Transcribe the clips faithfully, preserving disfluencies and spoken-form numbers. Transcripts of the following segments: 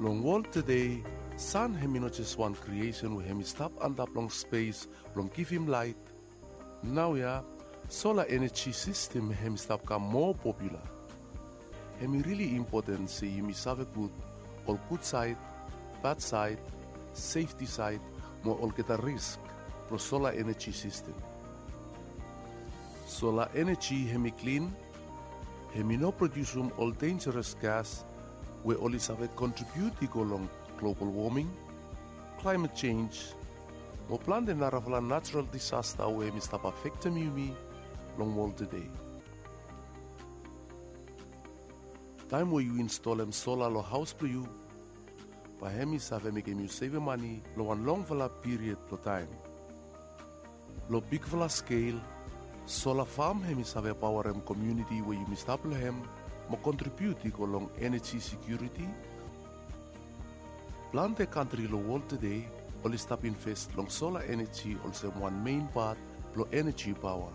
Long wol tede, san hem i no jes wan kriesen we hem i stap antap long spes blong givim laet. Naoia, sola eneji sistem hem i stap kam moa popula. Hem i rili impoten se yumi save gud ol gud saed, bad saed, sefti saed, mo olgeta risk blong sola eneji sistem. Sola eneji hem i klin, hem i no prodiusim ol denjaras gas we oli save kontribiut i go long global woming, klaemet jenj, mo plante narafala najeral disasta we hem i stap afektem yumi long wol tede. Taem we yu instolem sola long haos blong yu, bae hem i save mekem yu sevem mane long wan longfala piried blong taem. Long bigfala skel, sola fam hem i save paoarem komuniti we yumi stap long hem mo kontribiut i go long eneji sekiuriti. Plante kantri long wol tede oli stap invest long sola eneji olsem wan mein pat blong eneji paoa.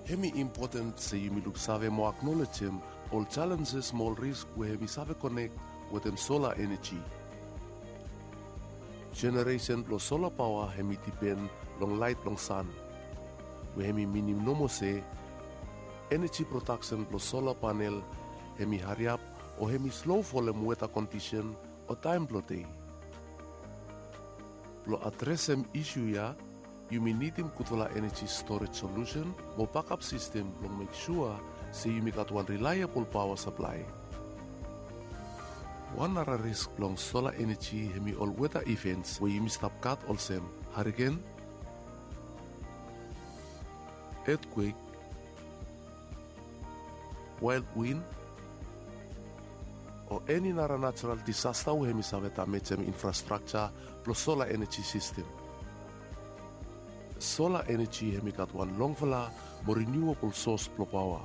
Hem i impoten se yumi luksave mo aknolejem ol jalenjes mo ol risk we hem i save konek wetem sola eneji. Jeneresen blong sola paoa hem i dipen long laet blong san, we hem i minim nomo se eneji prodaksen blong sola panel hem i hariap o hem i slo folem weta kondisen o taem blong dei. Blong adresem isu ya, yumi nidim gudfala eneji storej solusen mo bakap sistem blong mek sua se yumi gat wan rilaebol paoa saplae. Wan nara risk blong sola eneji hem i ol weta ivens we yumi stap gat olsem hariken, etkwek, wael win, o eni nara najeral disasta we hem i save damejem infrastrakja blong sola eneji sistem. Sola eneji hem i gat wan longfala mo riniuabol sos blong paoa.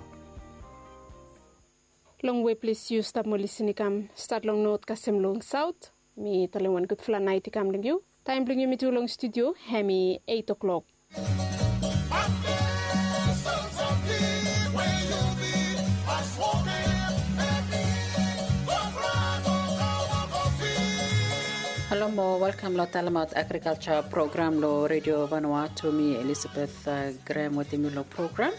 Longwe ples yu stap mo lisin i kam, stat long not kasem long saot. Mi talem wan gudfala naet i kam long yu. Taem blong yumi tu long studio hem i eit o'klok. Halo mo welkam long talemaot agrikalja program long Redio Vanuatu. Mi Elisabeth Grem wetem yu long program.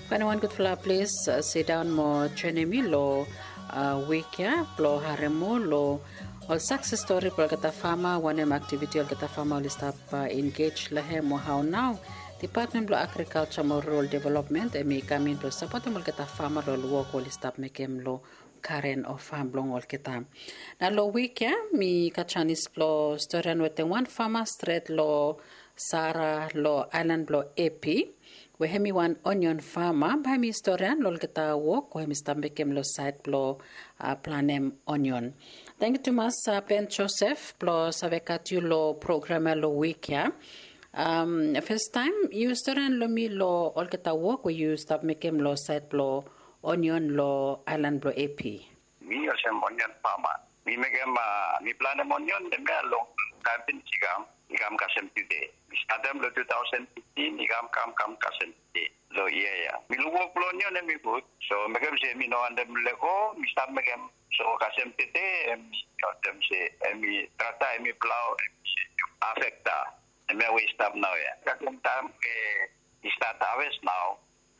Faenem wan gudfala ples, sidaon mo joenem mi long wik ya blong harem moa long ol sakses stori blong olgeta fama, wanem aktiviti olgeta fama oli stap engej long hem, o hao nao Depatmen blong Agrikalja mo Rural Developmen hem i kam in blong sapotem olgeta fama long ol wok we oli stap mekem long garen o fam blong olgeta. Nao long wik ya mi gat janis blong storian wetem wan fama stret long Sara long aelan blong Epi, we hem i wan onion fama, bae mi storian long olgeta wok we hem i stap mekem long saed blong planem onion. Tangkiu tumas Ben Josef blong save gat yu long program ya long wik ya. Fastaem yu storian long mi long olgeta wok we yu stap mekem long saed blong onion long aelan blong Epi. Mi olsem onion fama. Mi mekem, mi planem onion hemia long taem pinis i kam, i kam kasem tude. Mi statem long tu taosen fiftin, i kam kam kam kasem tude. Long yia ya mi luk wok blong onion hem i gud. So mekem se mi no wantem lego, mi stap mekem. So kasem tude hem i olsem se hem i trata hem i plao, hem i afekta. Hemia we i stap naoia kasem taem we i stat haves nao.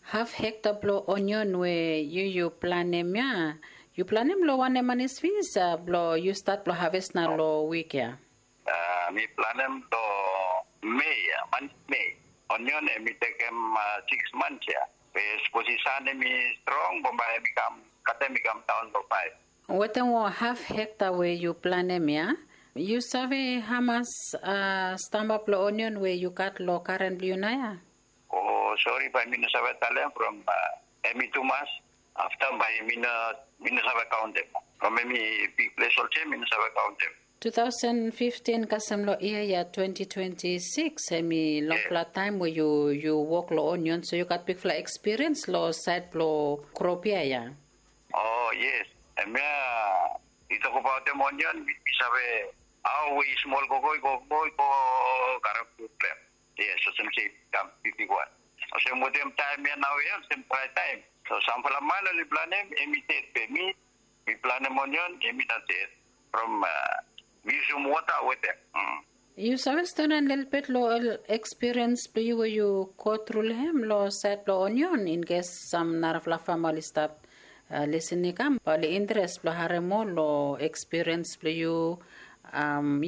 Haf hekta blong onion we yu yu planem ya, yu planem long wanem manis finis blong yu stat blong haves nao long wik ya? Mi planem long Mei ya, manis Mei. Onion hem i tekem sikis mans ya. Be sapos i san hem i strong, bambae hem i kam, katem i kam daon long faef. Wetem ol haf hekta we yu planem ya, yu save hamas stamba blong onion we yu gat long garen blong yu naoia? O sori, bae mi no save talem from hem i tumas. Afta bae mi no, mi no save kaontem. From hem i bigples olsem mi no save kaontem. Tu taosen fiftin kasem long yia ya twenti twenti sikis hem i longfala taem we yu, yu wok long onion, so yu gat bigfala ekspiriens long saed blong krop ya ya. O yes, hemia i tokbaotem onion, mi save hao we i smol gogo i gogo i go karem problem. Yes, olsem se i kam bigwan. Olsem wetem taem ya naoia olsem drae taem. So samfala man oli planem hem i ded, be mi, Mi planem onion, yumi no ted from, mi yusum wota wetem. Yu save stonem lelebet long ol ekspiriens blong yu we yu go tru long hem long sait blong onion, in kes sam narafala fam oli stap lisin i kam, oli interes blong harem moa long ekspiriens blong yu.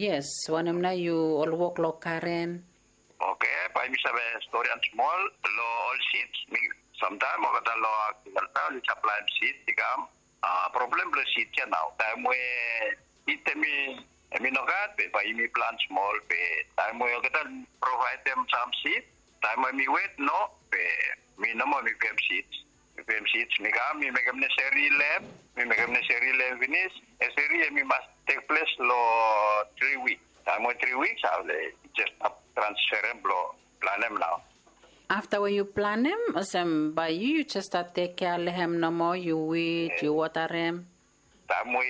Yes, wanem nao yu ol wok long garen? Oke, bae mi save storian smol long ol sids. Mi samtaem olgeta long agrikalsa oli saplaem sids i kam. Problem blong sids ya nao, taem we sid hemi hemi nogat be bae yumi plan smol, be taem we olgeta provaedem sam sid, taem we mi wet no, be mi nomo mi pem sids. Mi pem sids, mi kam mi mekem neseri long hem. Mi mekem neseri long hem finis. Neseri hemi mas tekples long tri wik. Taem we tri wik, ale jes stap transferem blong planem nao. Afta we yu planem olsem, bae yu jes stat tekkea long hem nomo, yu wid, yu wotarem. Taem we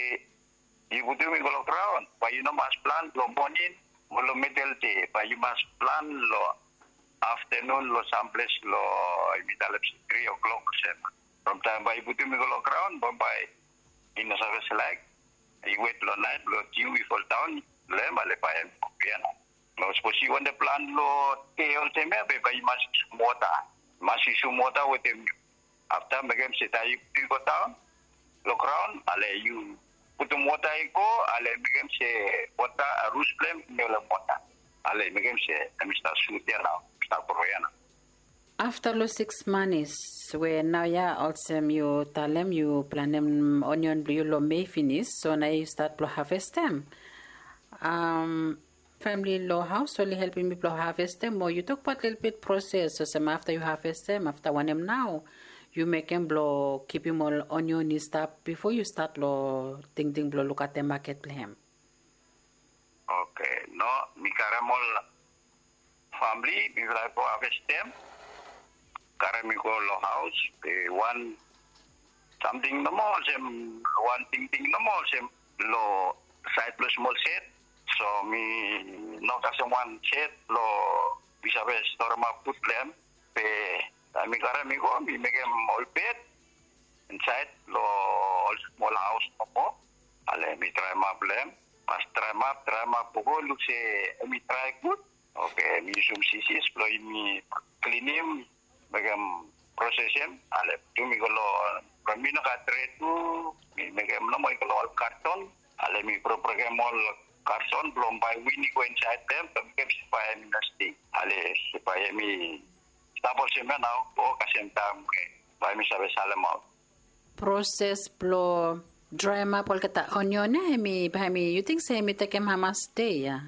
yu putum i go long graon, bae yu no mas plan long moning mo long midel dei, bae yu mas plan long aftenun long samples long, yumi talem se tri o'klok olsem. From taem bae yu putum i go long graon, bambae i no save slaek. Yu wet long naet blong diu i foldaon long hem, ale bae hem i go ya nao. Sapos yu wantem plan long dei olsem ya, be bae yu mas yusum wota. Mas yusum wota wetem yu. Afta mekem se taem yu putum i go daon long graon, ale yu putum wota i go, ale mekem se wota, rut blong hem i no long wota. Ale mekem se hemi stap sut ya nao, stap gro ya nao. Afta long siks manis we naoia olsem yu talem yu planem onion blong yu long Mei finis, so naoia yu stat blong havestem. Famili long haos oli helpem yu blong havestem, o yu tokbaot lelebet proses olsem afta yu havestem, afta wanem nao yu mekem blong kipim ol onion i stap bifo yu stat long tingting blong lukaotem maket blong hem? Oke, no, mi karem ol famili, mifala i go havestem, karem i go long haos. Be wan samting nomo olsem, wan tingting nomo olsem, long saed blong smol sed. So mi no kasem wan sed blong mi save storemap fud blong hem. Be taem mi karem i go, mi mekem ol bed insaed long ol smol haos nomo. Ale mi draemap long hem. Mas draemap, draemap, go luk se hemi drae gud. Oke, mi yusum sisis blong yumi klinim, mekem, prosesem. Ale putum i go long, from mi no gat tre tu, mi mekem nomo i go long ol karton. Ale mi bro-, brokem ol karton blong bae win i go insaed long hem, blong mekem se bae hemi no sting. Ale se bae hemi stap olsem ya nao, o kasem taem we bae mi save salemaot. Proses blong draemap olgeta onion ya, hemi, bae hemi, yu ting se hemi tekem hamas dei ya?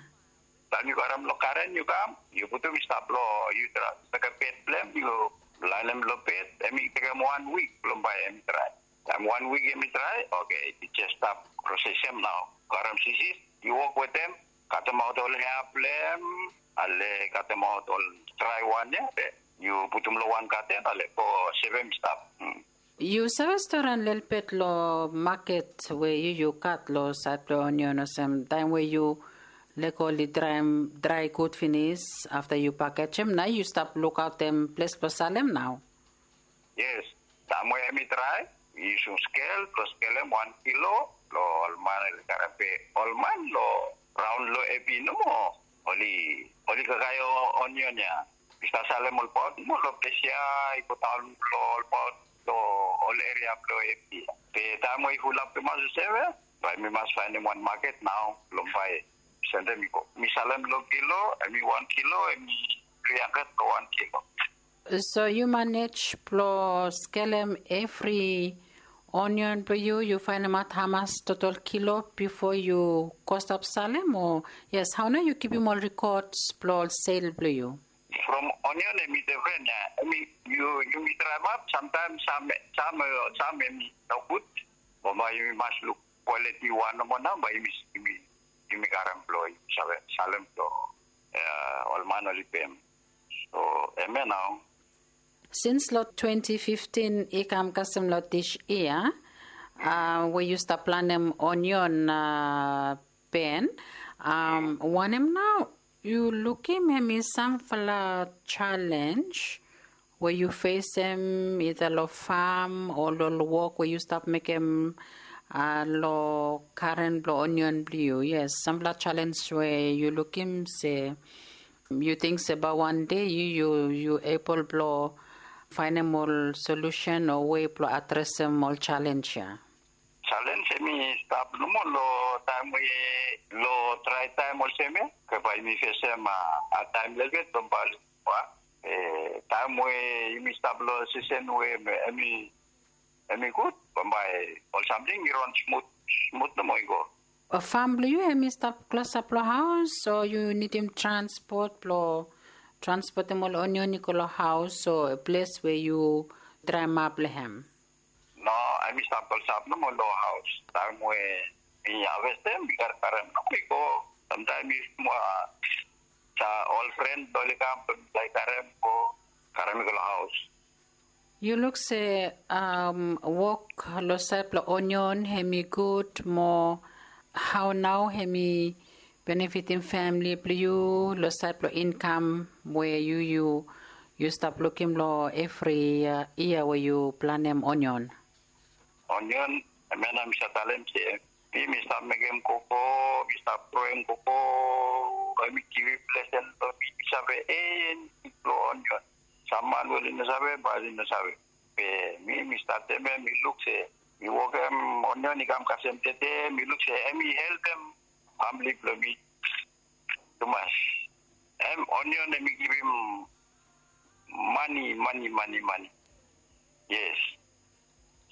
Taem yu karem long garen yu kam, yu putum i stap long, yu mekem bed blong hem, yu laenem long bed, hemi tekem wan wik blong bae hemi drae. Taem wan wik hemi drae, oke, yu jes stap prosesem nao. Karem sisis, yu wok wetem, katemaot ol hea blong hem, ale katemaot ol drae wan ya, be yu putum long wan gaten, ale go sevem i stap. Yu save storian lelebet long maket we yu, yu gat long saed blong onion olsem, taem we yu lego oli draem, drae gud finis, afta yu pakejem, nao yu stap lukaotem ples blong salem nao? Yes, taem we hemi drae, yu yusum skel blong skelem wan kilo long ol man oli karem, be ol man long raon long Epi nomo oli, oli kakae onion ya. I stap salem olbaot nomo long ples ya, i godaon long olbaot long ol eria blong Epi. Be taem we i fulap tumas olsem ya, bae mi mas faenem wan maket nao blong bae sendem i go. Mi salem long kilo, hemi wan kilo, hemi tri handred long wan kilo. So yu manej blong skelem evri onion blong yu, yu faenemaot hamas total kilo bifo yu go stap salem, o? Yes, hao nao yu kipim ol rikods blong ol sel blong yu? From onion hemi defren ya. Hemi, yu, yumi draemap, samtaem sam, sam, sam hemi nogud. Bambae yumi mas luk kwaliti wan nomo nao bae yumi, yumi, yumi karem blong yumi save salem blong ol man oli pem. So hemia nao. Sins long twenti fiftin i kam kasem long dis yia, we yu stap planem onion, Ben, wanem nao yu lukim hemi samfala jalenj we yu fesem, ida long fam o long wok we yu stap mekem A long karen blong onion blong yu, yes, sampela chalens we yu lukim se yu ting se bai wan de yu yu yu ebol blong fainim ol solusen o wei blong adresim ol chalens ya? Chalens em i stap nomo long taim we long drai taim olsem ya, ke bai yumi fesem a taim lelebet bambae. Taim we yumi stap long sisen we em i em i gud, bambae ol samting i ron smut smut nomo i go. Fam blong yu em i stap klosap long haus o yu nidim transpot blong transportim ol onion i go long haus o ples we yu draemap long hem? No, em i stap klosap nomo long haus. Taim we mi havestem mi gat karem nomo i go. Samtaim mi smua sa ol fren blong oli kam blong mi laik karem go karem i go long haus. Yu luk se wok long sait blong onion hem i gud mo hao nao hem i benefitim famili blong yu long sait blong inkam we yu yu yu stap lukim long evri yia we yu planem onion? Onion, em ya nao mi save talem se mi mi stap mekem koko, mi stap groem koko, em i givim blesen long mi. Mi save eni long onion. Sam man we oli no save bae oli no save. Be mi mi statem ya mi luk se mi wokem onion i kam kasem tete, mi luk se em i helpem famili blong mi tumas. Em onion em i givim mani, mani, mani, mani. Yes.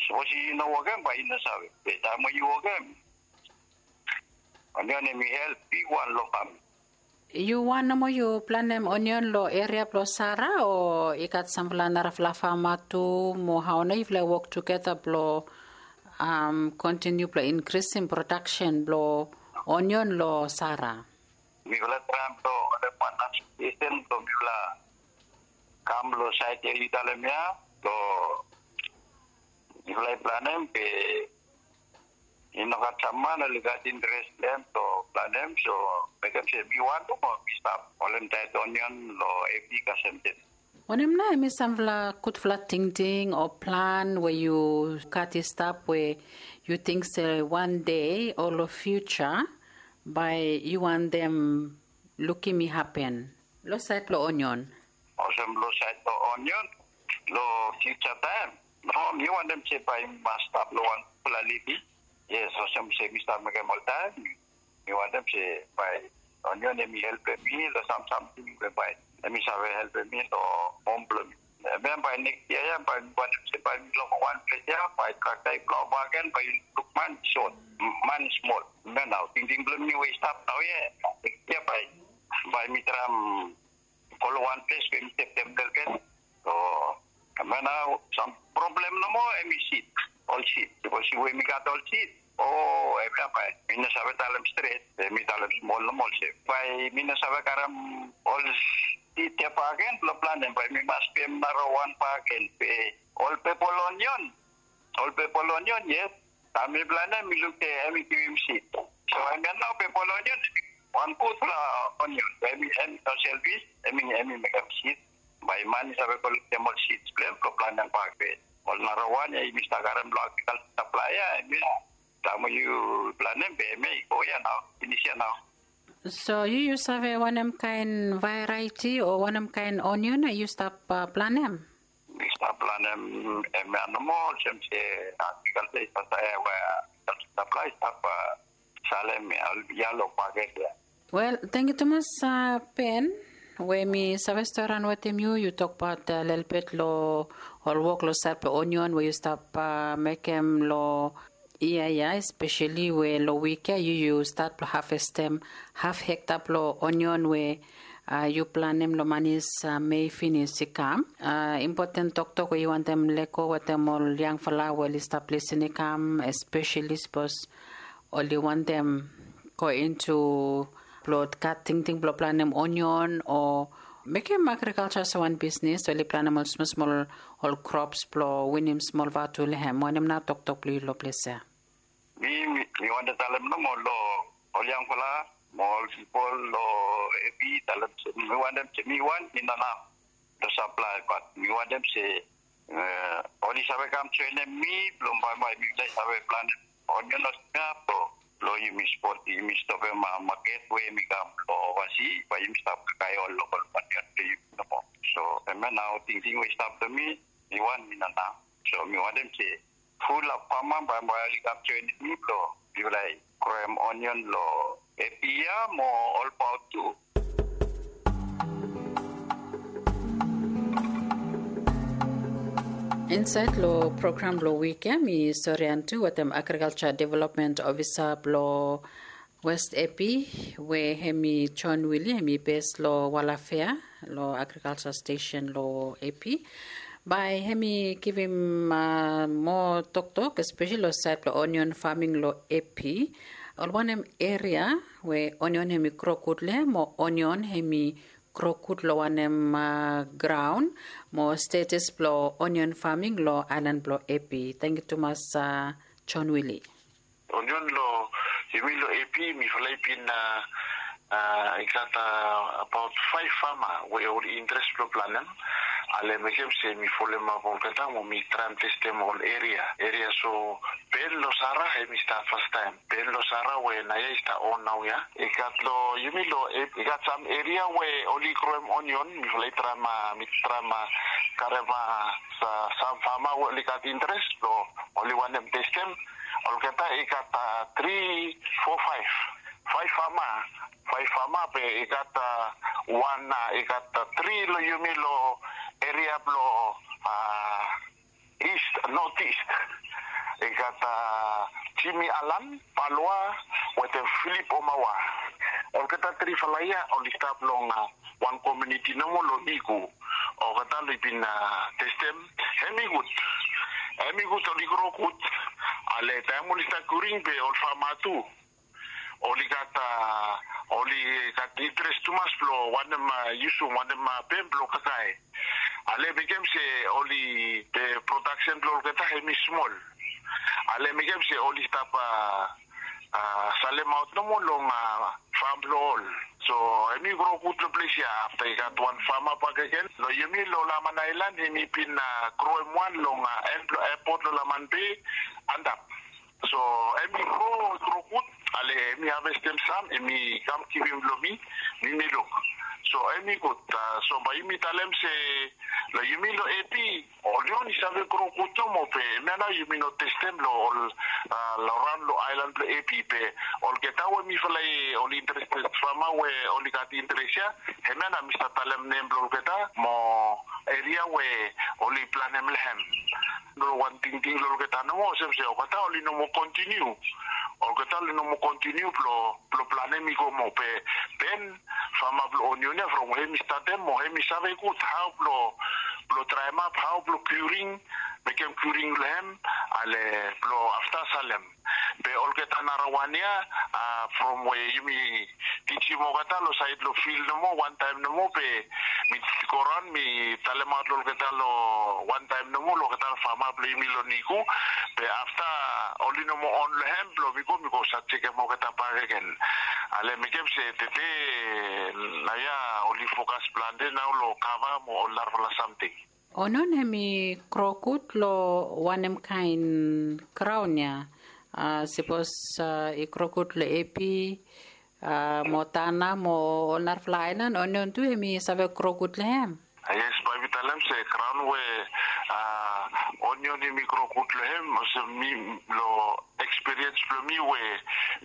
Sapos yu no wokem bae yu no save, be taim we yu wokem, onion em i help bigwan long famili. Yu wan nomo yu planem onion long eria blong Sara o i gat sampela narafala fama tu mo hao nao yufala i wok tugeta blong kontiniu blong inkrisim prodaksen blong onion long Sara? Mifala traem blong olem wan asosiesen blong mifala kam long sait ya yu talem ya, long mifala i planem be i no gat sam man oli gat interes long em blong planem, so mekem se mi wantaim o mi stap holem taet onion long epi kasem tete. Wanem nao em i sampela gudfala tingting o plan we yu gat i stap we yu ting se wan dei o long fiuja bae yu wantem lukim i hapen long sait blong onion? Olsem long sait blong onion, long fiuja taim, no, mi wantem se bae mi mas stap long wan gudfala living. Yes, olsem se mi stap mekem oltaim, mi wantem se bae onion em i helpem mi long sam samting we bae em i save helpem mi long hom blong mi. Em ya bae neks yia ya bae mi wantem se bae mi long wan ples ya bae trakta i plaoa bakegen bae yu luk man i sot, man i smol. Em ya nao tingting blong mi we i stap nao ya. Neks yia bae bae mi traem go long wan ples we mi stap stap lelebet. So em ya nao sam problem nomo em i sid, ol sid. Bikos we mi gat ol sid, o em ya bae mi no save talem stret, be mi talem smol nomo olsem bae mi no save karem ol sid ya bakegen blong planem, bae mi mas pem narawan bakegen. Be ol pepol onion, ol pepol onion, yes, taem mi planem mi luk se em i givim sid. So em ya nao pepol onion em i wan gudfala onion we em i no selfis, em i em i mekem sid. Bae man i save kolektem ol sids blong em blong planem bak. Be ol narawan ya yumi stap karem long agrikalsa saplaea ya, em ya taem we yu planem be em ya i go ya nao, finis ya nao. So yu yu save wanem kaen varieti o wanem kaen onion yu stap planem? Mi stap planem em ya nomo, olsem se agrikalsa i stap sae we agrikalsa saplaea i stap salem ya long paket ya. Wel, tangkiu tumas, Ben, we mi save storian wetem yu, yu tokbaot lelebet long ol wok long sait blong onion we yu stap mekem long yia ya, espeseli we long wik ya yu yu stat blong havestem haf hekta blong onion we yu planem long manis mei finis i kam. Impoten toktok we yu wantem lego wetem ol yangfala we oli stap lisin i kam, espeseli sapos oli wantem go intu blong gat tingting blong planem onion o mekem agrikalsa olsem wan bisnis, oli planem ol smol smol ol krops blong winim smol vatu long hem. Wanem nao toktok blong yu long ples ya? Mi mi wantem talem nomo long ol yangfala mo ol pipol long epi, talem se mi wantem se mi wan i no naf long saplae, bat mi wantem se oli save kam joenem mi blong bambae mifala i save planem onion olsem ya, blo, blo yumi spot, yumi stopem maket we hemi kam lo ovasi, bae yumi stap kakae ol lokol onion blo yumi nomo. So hemia nao tingting we i stap lo mi, mi wan mi no nao. So mi wantem se fulap fama bae, bae oli kam joenem mi blo mifala i kroem onion lo Epi ya mo ol paot tu. Insaed lo program blo wik ya, mi storian tu wetem agrikalja development ofisa blo West Epi, we hemi John Willie, hemi bes lo Walafea, lo agrikalja stesen lo Epi. Bae hemi givim, a, moa toktok, espeseli lo saed blo onion faming lo Epi. Ol wanem eria we onion hemi gro gud lo hem, mo onion hemi gro gud lo wanem, a, graon, mo status blo onion faming lo aelan blo Epi. Tangkiu tumas, a, John Willie. Onion lo, yumi lo Epi, mifala i bin, a, a, i gat, a, abaot faef fama we oli interes blo planem. Ale mekem se mi folemap olgeta mo mi traem testem ol eria. Eria so Ben Losara, hemi stap fastaem. Ben Losara we naoia i stap on naoia. I gat lo, yumi lo, i gat sam eria we oli kroem onion, mifala i traem, a, mi traem, a, karem, a, sa-, sam fama we oli gat interes blo oli wantem testem. Olgeta i gat, a, tri, fo, faef. Faef fama. Faef fama be i gat, a, wan, a, i gat, a, tri lo yumi lo eria blo, a, East, North East. I gat, a, Jimmy Alan Paloa wetem Philip Omawa. Olgeta trifala ya oli stap long, a, wan komuniti nomo lo Igu. Olgeta oli bin, a, testem. Hemi gud. Hemi gud, oli gro gud. Ale taem oli stap kuring be ol fama tu oli gat, a, oli gat interes tumas blo wantem, a, yusum, wantem, a, pem blo kakae. Ale mekem se oli, e, prodaksen blo olgeta hemi smol. Ale mekem se oli stap, a, a, salemaot nomo long, a, fam blo ol. So hemi gro gud lo ples ya. Afta i gat wan fama bakegen lo yumi lo Laman Aelan, hemi bin, a, groem wan long, a, en blo epot lo Laman Bei antap. So hemi gro, gro gud, ale hemi havestem sam, hemi kam givim lo mi, mi mi luk. So hemi gud, a, so bae yumi talem se lo yumi lo Epi, onion i save gro gud nomo be hemia nao yumi no testem lo ol, a, lo raon lo aelan blo Epi be olgeta we mifala i, oli interested fama we oli gat interes ya, hemia nao mi stap talem nem blo olgeta mo eria we oli planem lo hem. Lo wan tingting lo olgeta nomo olsem se olgeta oli no moa kontiniu. Olgeta oli no moa kontiniu blo, blo planem i go moa be, Ben, fama blo onion ya, from we hemi statem mo hemi save gud hao blo, blo traemap hao blo kuring, mekem kuring lo hem, ale blo afta salem. Be olgeta narawan ya, a, from we yumi tijim olgeta lo saed lo fil nomo, wantaem nomo be mi go raon mi talemaot lo olgeta lo wantaem nomo lo olgeta fama blo yumi lo Igu. Be afta oli no moa on lo hem blo mi go, mi go save jekem olgeta bakegen. Ale mekem se tede naoia oli fokas plante nao lo kava mo ol narafala samting. Onion hemi gro gud lo wanem kaen graon ya? A, sapos, a, i gro gud lo Epi, a, mo Tanna mo ol narafala aelan, onion tu hemi save gro gud lo hem? A, yes, bae mi talem se graon we, a, onion hemi gro gud lo hem, olsem mi lo ekspiriens blo mi we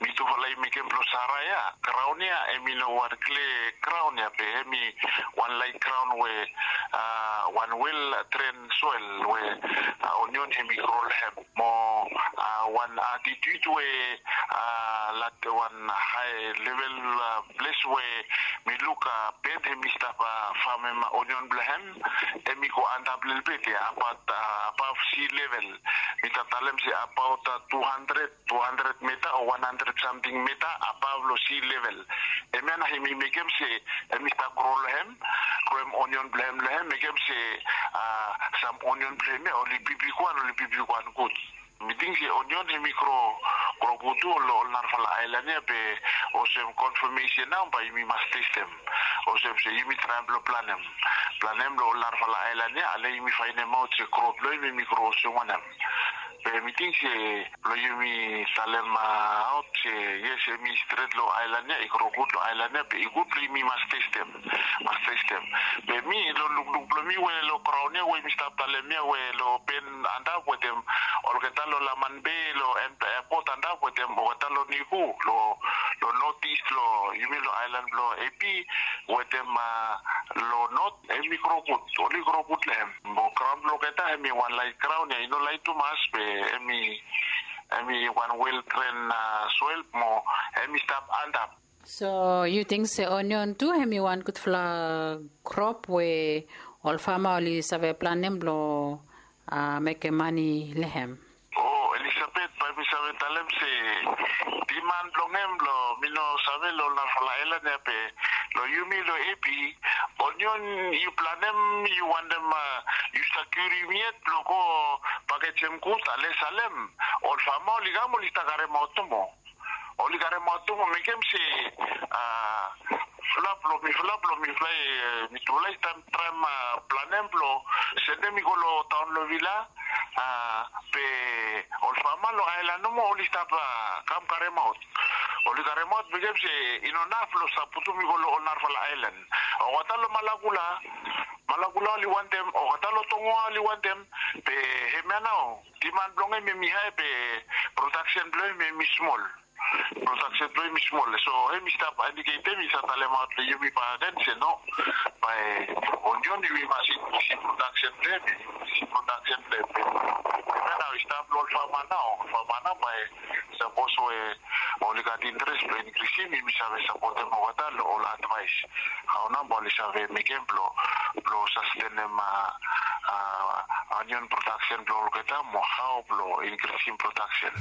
mitufala i mekem blo Sara ya, graon ya hemi no wan klia graon ya be hemi wan laet graon we, a, wan wel dren soel we, a, onion hemi gro lo hem. Mo, a, wan altitut we, a, lat wan hae level, a, ples we mi luk, a, Ben hemi stap, a, famem onion blo hem, hemi go antap lelebet ya, abaot, a, above sea level. Mi talem se abaot, a, tu handred, tu handred mita o wan handred samting mita above lo sea level. Hemia nao hemi mekem se hemi stap gro lo hem, kroem onion blo hem lo hem, mekem se, a, sam onion blo hem ya oli bibigwan, oli bibigwan gud. Mi ting se onion hemi gro, gro gud tu lo ol narafala aelan ya be olsem konfamesen nao bae yumi mas testem. Olsem se yumi traem blo planem. Planem lo ol narafala aelan ya, ale yumi faenemaot se gro blo hem hemi gro olsem wanem. Be mi ting se blong yumi talemaot se yes, hemi stret long aelan ya, i gro gud long aelan ya, be i gud blong yumi mas testem, mas testem. Be mi long lukluk blong mi we long graon ya we mi stap talem ya we long Ben antap wetem olgeta long Laman Be, long airport antap wetem olgeta long Niku, long long north east, long yumi long aelan blong Epi wetem long north, hemi gro gud, oli gro gud long hem. Mo graon blong olgeta hemi wan laet graon ya, i no laet tumas, be hemi hemi wan well drain soil mo hemi stap antap. So yu ting se onion tu hemi wan gudfala krop we ol fama oli save planem blong mekem mane long hem? O, Elisabet, bae mi save talem se diman blong hem long, mi no save long ol narafala aelan ya, be long yumi long Epi, onion yu planem, yu wantem yu sakiurim yet blong go pakejem gud ale salem, ol fama oli kam oli stap karemaot nomo. Oli karemaot nomo, mekem se a, mifala blong mifala blong mifala, mitufala i stap traem planem blong sendem i go long taon long Vila. A, be ol fama long aelan nomo oli stap kam karemaot. Oli karemaot mekem se i no naf blong stap putum i go long ol narafala aelan. Olgeta long Malakula, Malakula oli wantem, olgeta long Tongoa oli wantem. Be hemia nao diman blong hem hemi hae, be prodaksen blong hem hemi smol. Prodaksen blong hem i smol. So hemi stap indiketem, i stap talemaot long yumi bakegen se no, bae onion yumi mas inkrisim prodaksen blong hem, inkrisim prodaksen blong hem. Be hemia nao i stap long ol fama nao, ol fama nao bae sapos we oli gat interes blong inkrisim, yumi save sapotem olgeta long ol advaes hao nao bae oli save mekem blong blong sastenem a, onion prodaksen blong olgeta mo hao blong inkrisim prodaksen.